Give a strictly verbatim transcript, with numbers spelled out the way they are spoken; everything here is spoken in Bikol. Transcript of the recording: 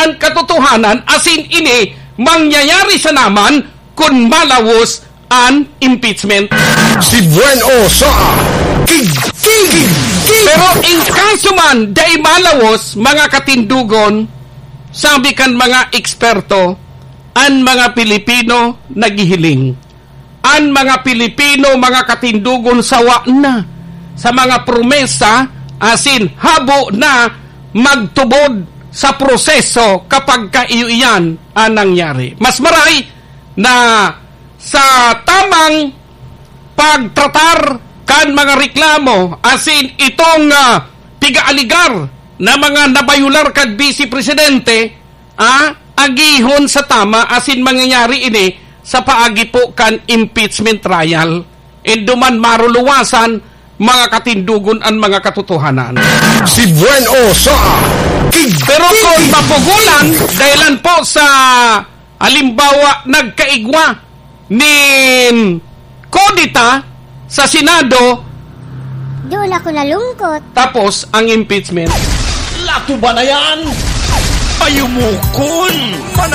Ang katotohanan, asin ini mangyayari sana man kun malawos an impeachment. Si Buen O sa Tig-, Tig-, Tig-. Pero in kaso man, dai malawos, mga katindogon, sabi kan mga eksperto, an mga Pilipino naghihiling. An mga Pilipino, mga katindogon, sawa na sa mga promesa, asin habo na magtubod sa proseso kapag kaiyo iyan ang nangyari. Mas maray na sa tamang pagtratar kan mga reklamo, asin itong, ah, piga-aligar na mga nabayular kan Vice Presidente, ah, agihon sa tama, asin mangyayari ini sa paagi po kan impeachment trial. Induman maruluwasan, mga katindogon, an mga katotohanan. Si Buen O sa Tig-, Pero kung Tig-, mapugulan, dahilan po sa, halimbawa, nagkaigwa nin kudeta sa Senado, Doon ako nalungkot. Tapos ang impeachment. Latuba na yan! Payumukon! Manat-